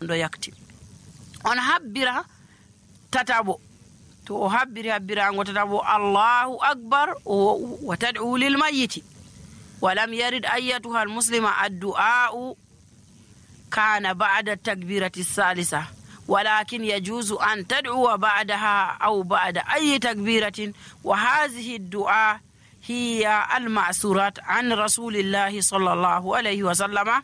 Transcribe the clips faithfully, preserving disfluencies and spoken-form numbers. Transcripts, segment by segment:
ɗo yakti. On habbira tatabo, to o habbiri habbirango tatabo Allahu akbar wa tad'u lil mayyiti ولم يرد أيتها المسلمة الدعاء كان بعد التكبيرة الثالثة، ولكن يجوز أن تدعو بعدها أو بعد أي تكبيرة، وهذه الدعاء هي المأثورات عن رسول الله صلى الله عليه وسلم: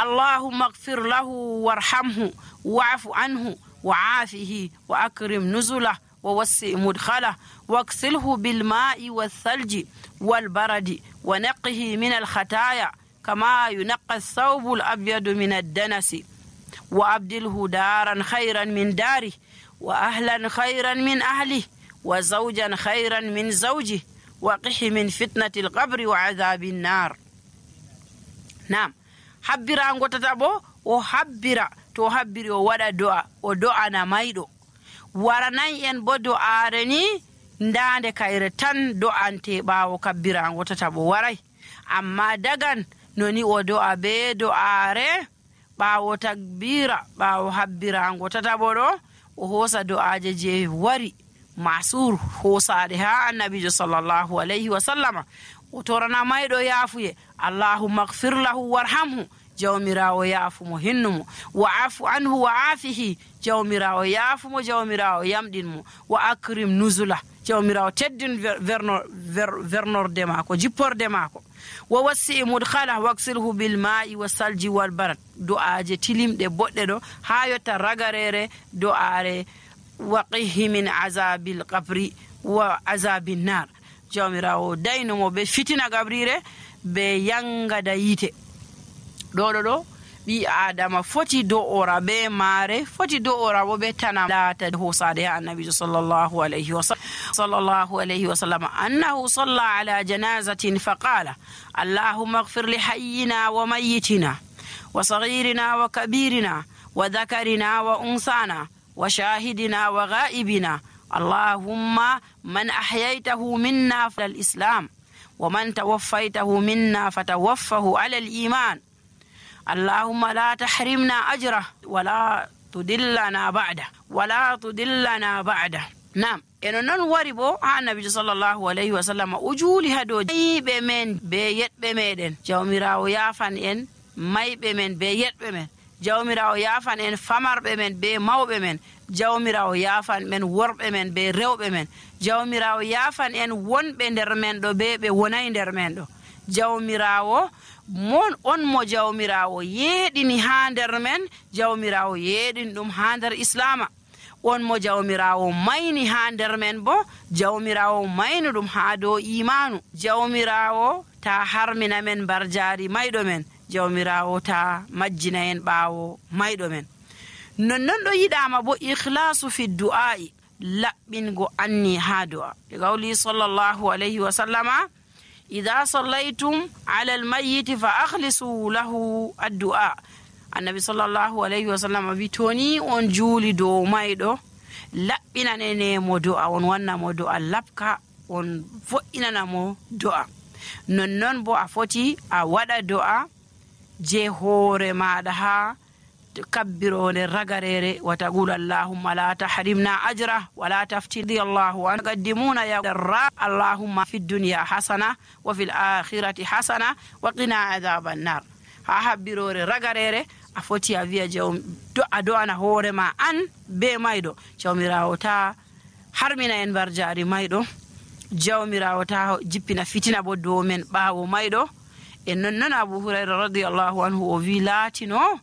اللهم اغفر له وارحمه واعف عنه وعافه وأكرم نزله ووسع مدخله واغسله بالماء والثلج والبرد ونقه من الخطايا كما ينقى الثوب الأبيض من الدنس وأبدله دارا خيرا من داره وأهلا خيرا من أهله وزوجا خيرا من زوجه وقه من فتنة القبر وعذاب النار. نعم، حبرا غوتاتابو o habbira to habbiri o wada do'a o do'ana maydo waranay en bo do'are ni ndande kayre tan do'ante bawo kabbirango tatabo waray, amma dagan noni o do'a be do'are bawo takbira bawo habbirango tatabo do o hosa do'aje je wari masur hosade ha annabijo sallallahu alaihi wasallama o torana maydo yafuye: allahumma ighfir lahu warhamhu, jawmirawo yaafumo hinnumo, wa afu anhu wa afihi, jawmirawo yaafumo jawmirawo yamɗinmo, wa akrim nuzula, jawmirawo teddin verno vernorde mako jipporde mako, wa wassi mudkhala waksilhu bil ma'i was salji wal barad. do'aje tilimɗe boɗɗe ɗo ha yotta ragarere do'are waqihi min azabil qabri wa azabin nar, jawmirawo daynumo be fitina gabrire be yangada yite. ɗo ɗo ɗo ɓi adama foti do'ora be mare, foti do'ora bo be tanam lata hosade ha annabijo sallallahu alayhi wa sallam sallallahu alayhi wa sallam annahu salla ala janazatin faqala: allahumma ighfir li hayyina wa mayyitina wa saghirina wa kabirina wa dhakarina wa unsana wa shahidina wa ghaibina, allahumma man ahyaytahu minna fal islam wa man tawaffaytahu minna fatawaffahu ala al iman, اللهم لا تحرمنا أجره ولا تدلنا بعده ولا تدلنا بعده. نعم، eno non wari bo ha annabijo sallallahu alaihi wasallam ujuli hado maybe men be yetbe meden, jawmirawo yafan en maybe men be yetbe men, jawmirawo yafan en famarbe men be mawbe men, jawmirawo yafan men worbe men be rewbe men, jawmirawo yafan en wonbe nder men do be be wonay nder men do, jawmirawo mon on mo jawmirawo yeɗini ha nder men, jawmirawo yeɗin ɗum ha nder islama, on mo jawmirawo mayni ha nder men bo jawmirawo mayni ɗum ha dow imanu, jawmirawo ta harmina men barjari mayɗo men, jawmirawo ta majjina en ɓawo mayɗo men. nonnon ɗo yiɗama bo ikhlasu fi du'a'i, laɓɓingo anni ha du'a, e gawli sallallahu alayhi wa sallama: إذا صليتم على الميت فأخلصوا له الدعاء. النبي صلى الله عليه وسلم بيتوني on juli do maydo labbinane mo do'a, on wanna mo do'a labka, on vo'inana mo do'a. nonnon bo a foti a wada do'a je hore maɗa ha kabbirone ragarere wa taqulu allahumma la tahrimna ajra wa la taftidi allahu an qaddimuna ya darra allahumma fid dunya hasana wa fil akhirati hasana wa qina adhaban nar. ha habbirore ragarere a foti a wiya jawm do ado ana hore ma an be maydo, jawmirawo ta harmina en barjari maydo, jawmirawo ta jippina fitina bo do men bawo maydo. en nonnon Abu Hurayra radiyallahu anhu o wi latino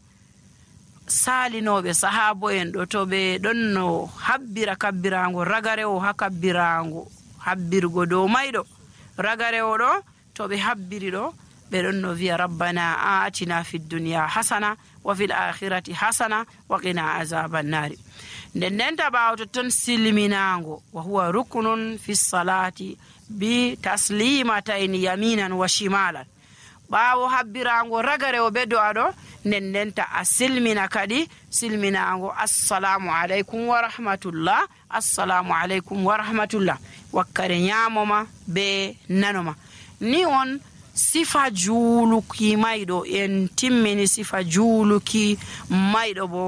salinoɓe sahabo en ɗo to ɓe ɗon no habbira kabbirango ragarewo ha kabbirango habbirgo dow mayɗo ragarewo ɗo to ɓe habbiri ɗo ɓe ɗon no wiya rabbana atina fid dunya hasana wa fil akhirati hasana wa qina azaban nari. nden nden ta ɓawo to ton silminango wa huwa ruknun fi salati bi taslimatayn yaminan wa shimalan. ɓawo habbirango ragarewo ɓe do'a ɗo nden ndenta a silmina kadi silminango assalamu aleykum wa rahmatullah, assalamu aleykum wa rahmatullah, wakkare ñamoma be nanoma. ni on sifa juuluki mayɗo en timmini sifa juuluki mayɗo bo